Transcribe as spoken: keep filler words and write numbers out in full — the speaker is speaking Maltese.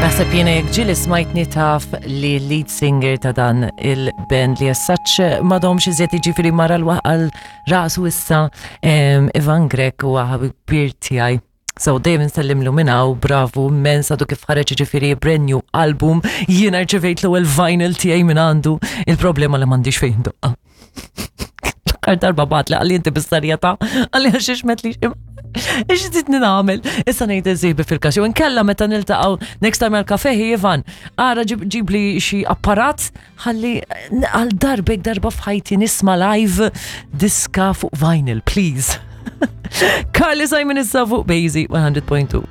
Naħseb jiena jekk ġieli smajtni taf li lead singer ta' dan il-band li as such m'għadhomx iżjed, jiġifieri mara l-għal rasu issa, em, Ivan Grech huwa ħabib kbir tiegħi. So dejjem nsellimlu minn hawn, bravu, immens, għadu kif ħareġ ġifieri brand new album, jiena rċevejt l-ewwel vinyl tiegħi minn għandu, il-problema li m'għandix fejn doqqa. L-aħħar darba bagħatli, qalli, "Inti bis-serjetà?" Qalli, "Għax metli Ix titni nagħmel?" Issa ngħid eżibi fil-każ. Jew inkella meta niltaqgħu next time għal-kafe, Ivan, ara ġib ġibli xi apparat ħalli għal darbek darba f'ħajti nisma' live diska fuq vinyl, please. Carly Simon issa fuq Basie one hundred point two.